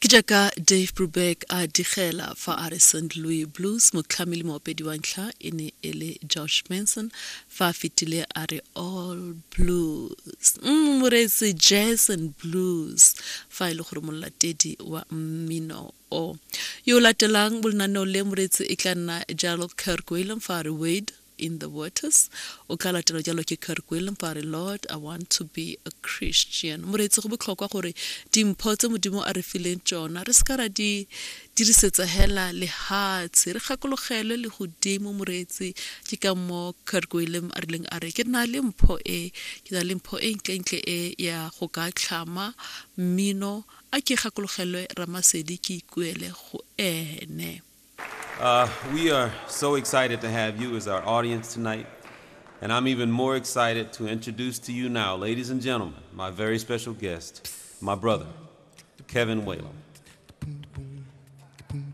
Ke jaaka Dave Brubeck a digela fa a re St. Louis Blues motlhami le moopedi wa ntlha e ne e le George Benson fa a fetile a re All Blues. Moreetsi Jazz and Blues fa e le gore molatedi wa mmino o. Yo o latelang mo lenaneong le moreetsi e tla nna jalo Kirk Whalum fa a re Wade in the waters o tla latelwa jalo ke Kirk Whalum fa a re Lord I want to be a Christian. Moreetsi go botlhokwa gore dimpho tse Modimo a re fileng tsona re seka ra di dirisetsa hela lehatshe re gakologelwe le godimo moreetsi ke ka mo Kirk Whalum a rileng a re ke na le mpho e ke na le mpho e ntlentle e ya go ka tlhama mmino a ke gakologelwe Ramasedi ke ikuele go ene. We are so excited to have you as our audience tonight. And I'm even more excited to introduce to you now, ladies and gentlemen, my very special guest, my brother, Kevin Whalum.